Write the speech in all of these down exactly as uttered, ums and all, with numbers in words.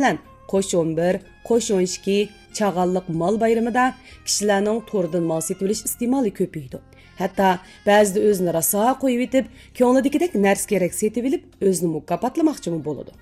مەسىلەن، قوش ئون بىر، قوش ئون ئىككى، چاغانلىق مال بايرىمىدا كىشىلەرنىڭ توردىن مال سېتىۋېلىش ئىستېمالى كۆپىيىدۇ. ھەتتا بەزىدە ئۆزىنى راسا قويۇۋېتىپ، كۆڭلىدىكىدەك نەرسە-كېرەك سېتىۋېلىپ، ئۆزىنى مۇكاپاتلىماقچىمۇ بولىدۇ.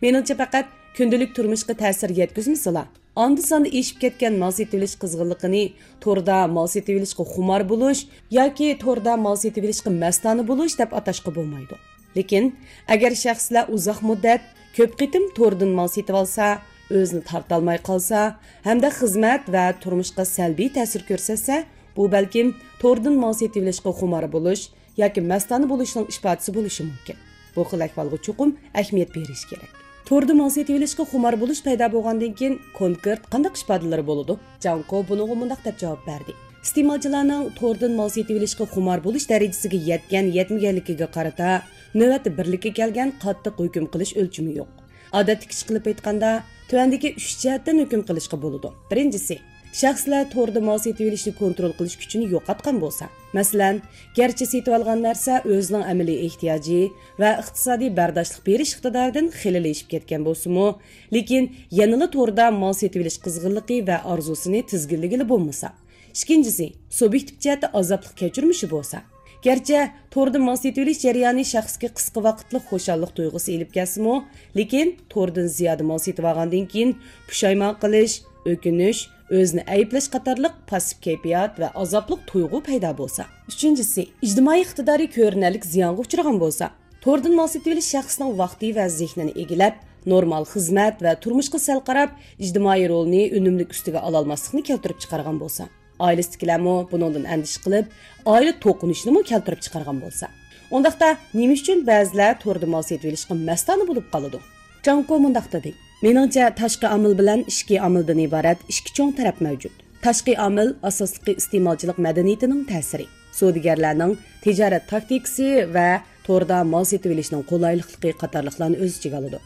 مېنىڭچە، پەقەت كۈندىلىك تۇرمۇشقا تەسىر يەتكۈزمىسىلا، ئاندا-ساندا ئېشىپ كەتكەن مال سېتىۋېلىش قىزغىنلىقىنى توردا مال سېتىۋېلىشقا خۇمار بولۇش ياكى توردا مال سېتىۋېلىشقا مەستانە بولۇش دەپ ئاتاشقا بولمايدۇ. لېكىن، ئەگەر شەخسلەر ئۇزاق مۇددەت، كۆپ قېتىم توردىن مال سېتىۋالسا، ئۆزىنى تارتالماي قالسا ھەمدە خىزمەت ۋە تۇرمۇشقا سەلبىي تەسىر كۆرسەتسە، بۇ بەلكىم توردىن مال سېتىۋېلىشقا خۇمار بولۇش ياكى مەستانە بولۇشنىڭ ئىپادىسى بولۇشى مۇمكىن. بۇ خىل ئەھۋالغا چوقۇم ئەھمىيەت بېرىش كېرەك. توردا مال سېتىۋېلىشقا خۇمار بولۇش پەيدا بولغاندىن كېيىن كونكرېت قانداق ئىپادىلىرى بولىدۇ؟ جاڭ كو بۇنىڭغا مۇنداق دەپ جاۋاب بەردى: ئىستېمالچىلارنىڭ توردىن مال سېتىۋېلىشقا خۇمار بولۇش دەرىجىسىگە يەتكەن-يەتمىگەنلىكىگە قارىتا نۆۋەتتە بىرلىككە كەلگەن قاتتىق ھۆكۈم قىلىش ئۆلچىمى يوق. ئادەتتىكىچە قىلىپ ئېيتقاندا، تۆۋەندىكى ئۈچ جەھەتتىن ھۆكۈم قىلىشقا بولىدۇ. بىرىنچىسى، شەخسلەر توردا مال سېتىۋېلىشنى كونترول قىلىش كۈچىنى يوقاتقان بولسا، مەسىلەن، گەرچە سېتىۋالغان نەرسە ئۆزىنىڭ ئەمەلىي ئېھتىياجى ۋە ئىقتىسادىي بەرداشلىق بېرىش ئىقتىدارىدىن خېلىلا ئېشىپ كەتكەن بولسىمۇ، لېكىن يەنىلا توردا مال سېتىۋېلىش قىزغىنلىقى ۋە ئارزۇسىنى تىزگىنلىگىلى بولمىسا. ئىككىنچىسى، سۇبيېكتىپ جەھەتتە ئازابلىق كەچۈرمىشى بولسا. گەرچە توردا مال سېتىۋېلىش جەريانى شەخسكە قىسقا ۋاقىتلىق خۇشاللىق تۇيغۇسى ئېلىپ كەلسىمۇ، لېكىن توردىن زىيادە مال سېتىۋالغاندىن كېيىن پۇشايمان قىلىش، ئۆكۈنۈش، ئۆزىنى ئەيىبلەش قاتارلىق پاسسىپ كەيپىيات ۋە ئازابلىق تۇيغۇ پەيدا بولسا. ئۈچىنچىسى، ئىجتىمائىي ئىقتىدارى كۆرۈنەرلىك زىيانغا ئۇچرىغان بولسا. توردىن مال سېتىۋېلىش شەخسنىڭ ۋاقتى ۋە زېھنىنى ئىگىلەپ، نورمال خىزمەت ۋە تۇرمۇشقا سەل قاراپ، ئىجتىمائىي رولىنى ئۈنۈملۈك ئۈستىگە ئالالماسلىقنى كەلتۈرۈپ چىقارغان بولسا. ئائىلىسىدىكىلەرمۇ بۇنىڭدىن ئەندىشە قىلىپ، ئائىلە توقۇنۇشىنىمۇ كەلتۈرۈپ چىقارغان بولسا. ئۇنداقتا نېمە ئۈچۈن بەزىلەر توردا مال سېتىۋېلىشقا مەستانە بولۇپ قالىدۇ؟ جاڭ كو مۇنداق دېدى: مېنىڭچە، تاشقى ئامىل بىلەن ئىچكى ئامىلدىن ئىبارەت ئىككى چوڭ تەرەپ مەۋجۇت. تاشقى ئامىل ئاساسلىقى ئىستېمالچىلىق مەدەنىيىتىنىڭ تەسىرى، سودىگەرلەرنىڭ تىجارەت تاكتىكىسى ۋە توردا مال سېتىۋېلىشنىڭ قولايلىقلىقى قاتارلىقلارنى ئۆز ئىچىگە ئالىدۇ.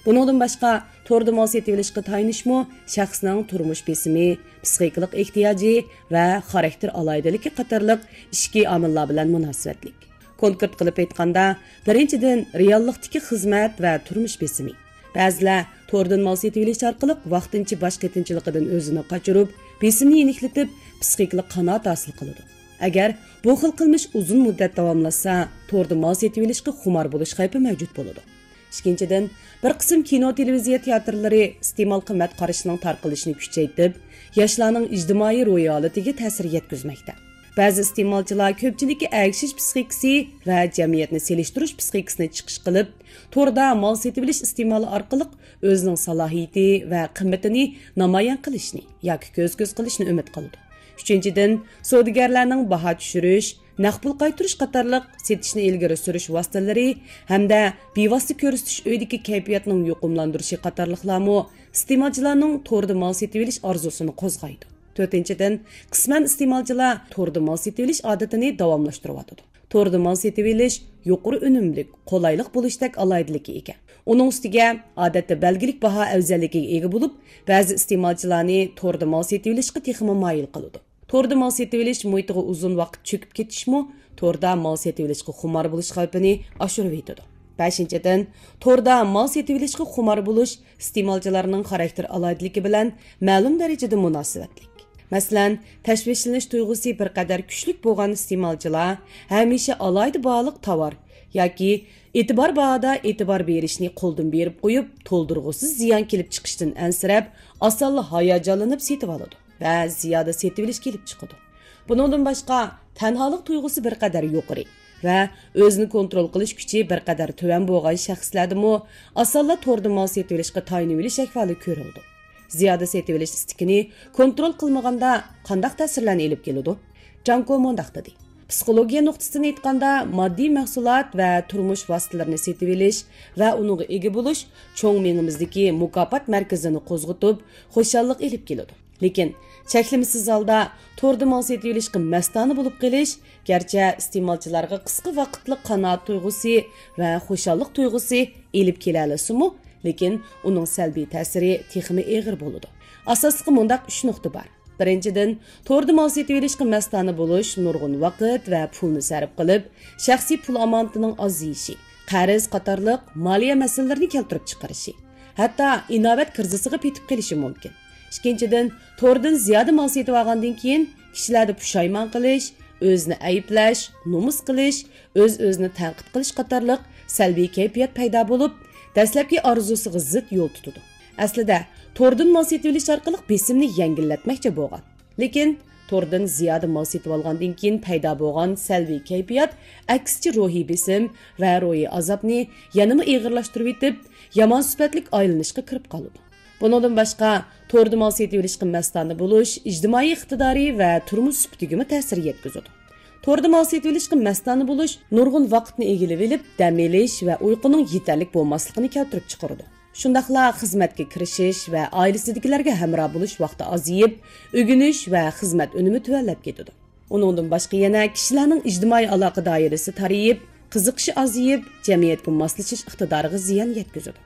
بۇنىڭدىن باشقا، توردا مال سېتىۋېلىشقا تايىنىشمۇ شەخسنىڭ تۇرمۇش بېسىمى، پىسخىكىلىق ئېھتىياجى ۋە خاراكتېر ئالاھىدىلىكى قاتارلىق ئىچكى ئامىللار بىلەن مۇناسىۋەتلىك. كونكرېت قىلىپ ئېيتقاندا، بىرىنچىدىن، رېئاللىقتىكى خىزمەت ۋە تۇرمۇش بېسىمى. بەزىلەر توردىن مال سېتىۋېلىش ئارقىلىق ۋاقتىنچە باش قېتىمچىلىقىدىن ئۆزىنى قاچۇرۇپ، بېسىمنى يېنىكلىتىپ، پىسخىكىلىق قانائەت ھاسىل قىلىدۇ. ئەگەر بۇ خىل قىلمىش ئۇزۇن مۇددەت داۋاملاشسا، توردا مال سېتىۋېلىشقا خۇمار بولۇش خەۋپى مەۋجۇت بولىدۇ. ئىككىنچىدىن، بىر قىسىم كىنو، تېلېۋىزىيە تىياتىرلىرى ئىستېمال قىممەت قارىشىنىڭ تارقىلىشىنى كۈچەيتىپ، ياشلارنىڭ ئىجتىمائىي روھىي ھالىتىگە تەسىر يەتكۈزمەكتە. بەزى ئىستېمالچىلار كۆپچىلىككە ئەگىشىش پىسخىكىسى ۋە جەمئىيەتنى سېلىشتۇرۇش پىسخىكىسىنى چىقىش قىلىپ، توردا مال سېتىۋېلىش ئىستېمالى ئارقىلىق ئۆزىنىڭ سالاھىيىتى ۋە قىممىتىنى نامايان قىلىشنى ياكى كۆز-كۆز قىلىشنى ئۈمىد قىلىدۇ. ئۈچىنچىدىن، سودىگەرلەرنىڭ باھا چۈشۈرۈش، نەق پۇل قايتۇرۇش قاتارلىق سېتىشنى ئىلگىرى سۈرۈش ۋاسىتىلىرى ھەمدە بىۋاسىتە كۆرسىتىش ئۆيىدىكى كەيپىياتنىڭ يۇقۇملاندۇرۇشى قاتارلىقلارمۇ ئىستېمالچىلارنىڭ توردا مال سېتىۋېلىش ئارزۇسىنى قوزغايدۇ. تۆتىنچىدىن، قىسمەن ئىستېمالچىلار توردا مال سېتىۋېلىش ئادىتىنى داۋاملاشتۇرۇۋاتىدۇ. توردا مال سېتىۋېلىش يۇقىرى ئۈنۈملۈك، قولايلىق بولۇشتەك ئالاھىدىلىككە ئىگە. ئۇنىڭ ئۈستىگە، ئادەتتە بەلگىلىك باھا ئەۋزەللىكىگە ئىگە بولۇپ، بەزى ئىستېمالچىلارنى توردا مال سېتىۋېلىشقا تېخىمۇ مايىل قىلىدۇ. توردا مال سېتىۋېلىش مۇھىتىغا ئۇزۇن ۋاقىت چۆكۈپ كېتىشمۇ توردا مال سېتىۋېلىشقا خۇمار بولۇش خەۋپىنى ئاشۇرۇۋېتىدۇ. بەشىنچىدىن، توردا مال سېتىۋېلىشقا خۇمار بولۇش ئىستېمالچىلارنىڭ خاراكتېر ئالاھىدىلىكى بىلەن مەلۇم دەرىجىدە مۇناسىۋەتلىك. مەسىلەن، تەشۋىشلىنىش تۇيغۇسى بىر قەدەر كۈچلۈك بولغان ئىستېمالچىلار ھەمىشە ئالاھىدە باھالىق تاۋار ياكى ئېتىبار باھادا ئېتىبار بېرىشنى قولدىن بېرىپ قويۇپ، تولدۇرغۇسىز زىيان كېلىپ چىقىشتىن ئەنسىرەپ، ئاسانلا ھاياجانلىنىپ سېتىۋالىدۇ ۋە زىيادە سېتىۋېلىش كېلىپ چىقىدۇ. بۇنىڭدىن باشقا، تەنھالىق تۇيغۇسى بىر قەدەر يۇقىرى ۋە ئۆزىنى كونترول قىلىش كۈچى بىر قەدەر تۆۋەن بولغان شەخسلەردىمۇ ئاسانلا توردا مال سېتىۋېلىشقا تايىنىۋېلىش ئەھۋالى كۆرۈلىدۇ. زىيادە سېتىۋېلىش ئىستىكىنى كونترول قىلمىغاندا قانداق تەسىرلەرنى ئېلىپ كېلىدۇ؟ جاڭ كو مۇنداق دېدى: پسىخولوگىيە نۇقتىسىدىن ئېيتقاندا، ماددىي مەھسۇلات ۋە تۇرمۇش ۋاسىتىلىرىنى سېتىۋېلىش ۋە ئۇنىڭغا ئىگە بولۇش چوڭ مېڭىمىزدىكى مۇكاپات مەركىزىنى قوزغىتىپ، خۇشاللىق ئېلىپ كېلىدۇ. لېكىن چەكلىمىسىز ھالدا توردا مال سېتىۋېلىشقا مەستانە بولۇپ قېلىش، گەرچە ئىستېمالچىلارغا قىسقا ۋاقىتلىق قانائەت تۇيغۇسى ۋە خۇشاللىق تۇيغۇسى ئېلىپ كېلەلىسىمۇ، لېكىن ئۇنىڭ سەلبىي تەسىرى تېخىمۇ ئېغىر بولىدۇ. ئاساسلىقى مۇنداق ئۈچ نۇقتا بار. بىرىنچىدىن، توردا مال سېتىۋېلىشقا مەستانە بولۇش نۇرغۇن ۋاقىت ۋە پۇلنى سەرپ قىلىپ، شەخسىي پۇل ئامانىتىنىڭ ئازىيىشى، قەرز قاتارلىق مالىيە مەسىلىلىرىنى كەلتۈرۈپ چىقىرىشى. ھەتتا ئىناۋەت كىرىزىسىغا پېتىپ قېلىشى مۇمكىن. ئىككىنچىدىن، توردىن زىيادە مال سېتىۋالغاندىن كېيىن، كىشىلەردە پۇشايمان قىلىش، ئۆزىنى ئەيىبلەش، نومۇس قىلىش، ئۆز-ئۆزىنى تەنقىد قىلىش قاتارلىق سەلبىي كەيپىيات پەيدا بولۇپ، دەسلەپكى ئارزۇسىغا زىت يول تۇتىدۇ. ئەسلىدە، توردىن مال سېتىۋېلىش ئارقىلىق بېسىمنى يەڭگىللەتمەكچى بولغان. لېكىن، توردىن زىيادە مال سېتىۋالغاندىن كېيىن پەيدا بولغان سەلبىي كەيپىيات ئەكسىچە روھىي بېسىم ۋە روھىي ئازابنى يەنىمۇ ئېغىرلاشتۇرۇۋېتىپ، يامان سۈپەتلىك ئايلىنىشقا كىرىپ قالىدۇ. بۇنىڭدىن باشقا، توردا مال سېتىۋېلىشقا مەستانە بولۇش ئىجتىمائىي ئىقتىدارى ۋە تۇرمۇش سۈپىتىگىمۇ تەسىر يەتكۈزىدۇ. توردا مال سېتىۋېلىشقا مەستانە بولۇش نۇرغۇن ۋاقىتنى ئىگىلىۋېلىپ، دەم ئېلىش ۋە ئۇيقۇنىڭ يېتەرلىك بولماسلىقىنى كەلتۈرۈپ چىقىرىدۇ. شۇنداقلا خىزمەتكە كىرىشىش ۋە ئائىلىسىدىكىلەرگە ھەمراھ بولۇش ۋاقتى ئازىيىپ، ئۆگىنىش ۋە خىزمەت ئۈنۈمى تۆۋەنلەپ كېتىدۇ. ئۇنىڭدىن باشقا يەنە كىشىلەرنىڭ ئىجتىمائىي ئالاقە دائىرىسى تارىيىپ، قىزىقىشى ئازىيىپ، جەمئىيەتكە ماسلىشىش ئىقتىدارىغا زىيان يەتكۈزىدۇ.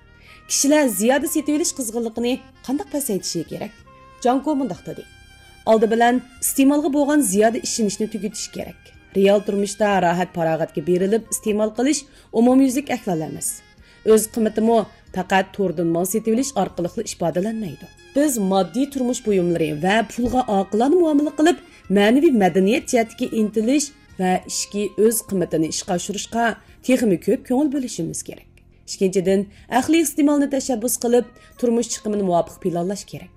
كىشىلەر زىيادە سېتىۋېلىش قىزغىنلىقىنى قانداق پەسەيتىشى كېرەك؟ جاڭكو مۇنداق دېدى: ئالدى بىلەن ئىستېمالغا بولغان زىيادە ئىشىنىشنى تۈگىتىش كېرەك. رېئال تۇرمۇشتا راھەت-پاراغەتكە بېرىلىپ ئىستېمال قىلىش ئومۇميۈزلۈك ئەھۋال ئەمەس. ئۆز قىممىتىمۇ پەقەت توردىن مال سېتىۋېلىش ئارقىلىقلا ئىپادىلەنمەيدۇ. بىز ماددىي تۇرمۇش بۇيۇملىرى ۋە پۇلغا ئاقىلانە مۇئامىلە قىلىپ، مەنىۋى مەدەنىيەت جەھەتتىكى ئىنتىلىش ۋە ئىچكى ئۆز قىممىتىنى ئىشقا ئاشۇرۇشقا تېخىمۇ كۆپ كۆڭۈل بۆلۈشىمىز كېرەك. ئىككىنچىدىن، ئەقلىي ئىستېمالنى تەشەببۇس قىلىپ، تۇرمۇش چىقىمىنى مۇۋاپىق پىلانلاش كېرەك.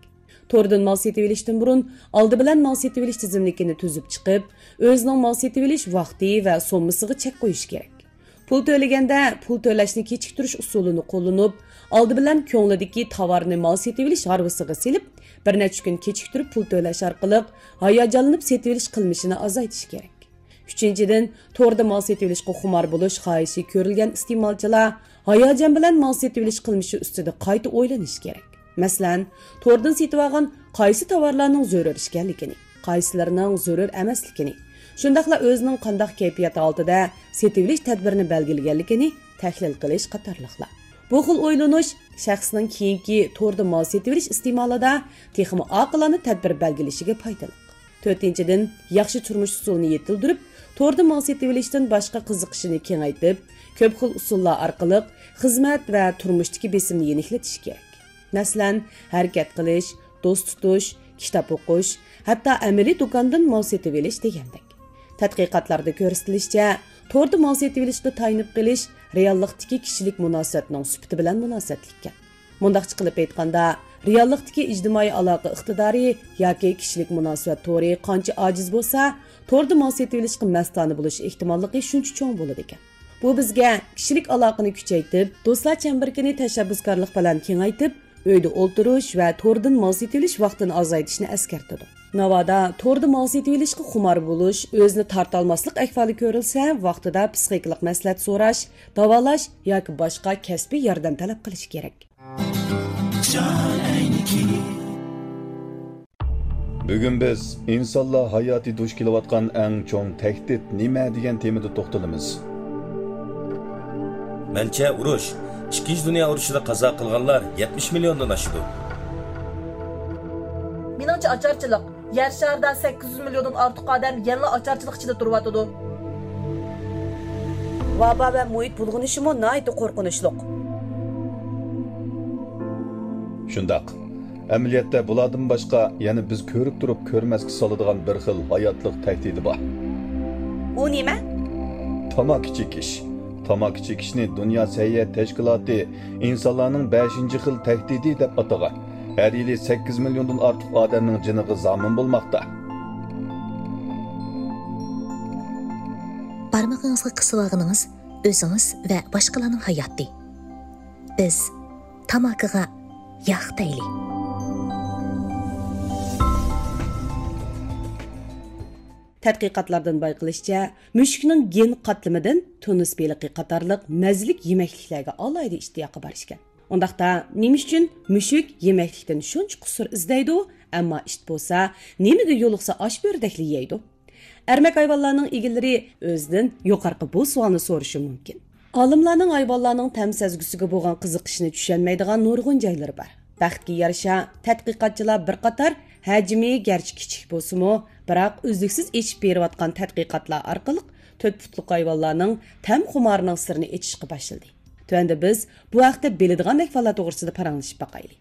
توردىن مال سېتىۋېلىشتىن بۇرۇن، ئالدى بىلەن مال سېتىۋېلىش تىزىملىكىنى تۈزۈپ چىقىپ، ئۆزىنىڭ مال سېتىۋېلىش ۋاقتى ۋە سوممىسىغا چەك قويۇش كېرەك. پۇل تۆلىگەندە، پۇل تۆلەشنى كېچىكتۈرۈش ئۇسۇلىنى قوللىنىپ، ئالدى بىلەن كۆڭلىدىكى تاۋارنى مال سېتىۋېلىش ھارۋىسىغا سېلىپ، بىر نەچچە كۈن كېچىكتۈرۈپ پۇل تۆلەش ئارقىلىق ھاياجانلىنىپ سېتىۋېلىش قىلمىشىنى ئازايتىش كېرەك. ئۈچىنچىدىن، توردا مال سېتىۋېلىشقا خۇمار بولۇش خاھىشى كۆرۈلگەن ئىستېمالچىلار ھاياجان بىلەن مال سېتىۋېلىش قىلمىشى ئۈستىدە قايتا ئويلىنىشى كېرەك. مەسىلەن، توردىن سېتىۋالغان قايسى تاۋارلارنىڭ زۆرۈر ئىكەنلىكىنى، قايسىلىرىنىڭ زۆرۈر ئەمەسلىكىنى، شۇنداقلا ئۆزىنىڭ قانداق كەيپىيات ھالىتىدە سېتىۋېلىش تەدبىرىنى بەلگىلىگەنلىكىنى تەھلىل قىلىش قاتارلىقلار. بۇ خىل ئويلىنىش شەخسنىڭ كېيىنكى توردا مال سېتىۋېلىش ئىستېمالىدا تېخىمۇ ئاقىلانە تەدبىر بەلگىلىشىگە پايدىلىق. تۆتىنچىدىن، ياخشى تۇرمۇش ئۇسۇلىنى يېتىلدۈرۈپ، توردا مال سېتىۋېلىشتىن باشقا قىزىقىشىنى كېڭەيتىپ، كۆپ خىل ئۇسۇللار ئارقىلىق خىزمەت ۋە تۇرمۇشتىكى بېسىمنى يېنىكلىتىش كېرەك. مەسىلەن، ھەرىكەت قىلىش، دوست تۇتۇش، كىتاب ئوقۇش، ھەتتا ئەمەلىي دۇكاندىن مال سېتىۋېلىش دېگەندەك. تەتقىقاتلاردا كۆرسىتىلىشىچە، توردا مال سېتىۋېلىشقا تايىنىپ قېلىش رېئاللىقتىكى كىشىلىك مۇناسىۋەتنىڭ سۈپىتى بىلەن مۇناسىۋەتلىككەن. مۇنداقچە قىلىپ ئېيتقاندا، رېئاللىقتىكى ئىجتىمائىي ئالاقە ئىقتىدارى ياكى كىشىلىك مۇناسىۋەت تورى قانچە ئاجىز بولسا، توردا مال سېتىۋېلىشقا مەستانە بولۇش ئېھتىماللىقى شۇنچە چوڭ بولىدىكەن. بۇ بىزگە كىشىلىك ئالاقىنى كۈچەيتىپ، دوستلار چەمبىرىكىنى تەشەببۇسكارلىق بىلەن كېڭەيتىپ، ئۆيدە ئولتۇرۇش ۋە توردىن مال سېتىۋېلىش ۋاقتىنى ئازايتىشنى ئەسكەرتىدۇ. ناۋادا توردا مال سېتىۋېلىشقا خۇمار بولۇش، ئۆزىنى تارتالماسلىق ئەھۋالى كۆرۈلسە، ۋاقتىدا پسىخىكىلىق مەسلىھەت سوراش، داۋالاش ياكى باشقا كەسپىي ياردەم تەلەپ قىلىش كېرەك. جان ئەينىكى. بۈگۈن بىز ئىنسانلار ھاياتى دۇچ كېلىۋاتقان ئەڭ چوڭ تەھدىت نېمە دېگەن تېمىدا توختىلىمىز. مەنچە، ئۇرۇش، ئىككىنچى دۇنيا ئۇرۇشىدا قازا قىلغانلار يەتمىش مىليوندىن ئاشىدۇ. مېنىڭچە ئاچارچىلىق. يەر شارىدا سەككىز يۈز مىليوندىن ئارتۇق ئادەم يەنىلا ئاچارچىلىق ئىچىدە تۇرۇۋاتىدۇ. ۋابا ۋە مۇھىت بۇلغىنىشىمۇ ناھايىتى قورقۇنچلۇق. شۇنداق. ئەمەلىيەتتە بۇلاردىن باشقا يەنە بىز كۆرۈپ تۇرۇپ كۆرمەسكە سالىدىغان بىر خىل ھاياتلىق تەھدىتى بار. ئۇ نېمە؟ تاماكا چېكىش. تاماكا چېكىشنى دۇنيا سەھىيە تەشكىلاتى ئىنسانلارنىڭ بەشىنچى خىل تەھدىتى دەپ ئاتىغان. ھەر يىلى سەككىز مىليوندىن ئارتۇق ئادەمنىڭ جېنىغا زامىن بولماقتا. بارمىقىڭىزغا قىسىۋالغىنىڭىز ئۆزىڭىز ۋە باشقىلارنىڭ ھاياتى. بىز تاماكىغا ياق دەيلى. تەتقىقاتلاردىن بايقىلىشىچە، مۈشۈكنىڭ گېن قاتلىمىدىن تۇنۇس بېلىقى قاتارلىق مەززىلىك يېمەكلىكلەرگە ئالاھىدە ئىشتىياقى بار ئىكەن. ئۇنداقتا، نېمە ئۈچۈن مۈشۈك يېمەكلىكتىن شۇنچە قۇسۇر ئىزدەيدۇ، ئەمما ئىت بولسا نېمىگە يولۇقسا ئاش بۆرىدەكلا يەيدۇ؟ ئەرمەك ھايۋانلارنىڭ ئىگىلىرى ئۆزىدىن يۇقىرىقى بۇ سوئالنى سورىشى مۇمكىن. ئالىملارنىڭ ھايۋانلارنىڭ تەم سەزگۈسىگە بولغان قىزىقىشىنى چۈشەنمەيدىغان نۇرغۇن جايلىرى بار. بەختكە يارىشا، تەتقىقاتچىلار بىر قاتار ھەجمى گەرچە كىچىك بولسىمۇ، بىراق ئۈزلۈكسىز ئېچىپ بېرىۋاتقان تەتقىقاتلار ئارقىلىق تۆت پۇتلۇق ھايۋانلارنىڭ تەم خۇمارىنىڭ سىرىنى ئېچىشقا باشلىدى. تۆۋەندە بىز بۇ ھەقتە بىلىدىغان ئەھۋاللار توغرىسىدا پاراڭلىشىپ باقايلى.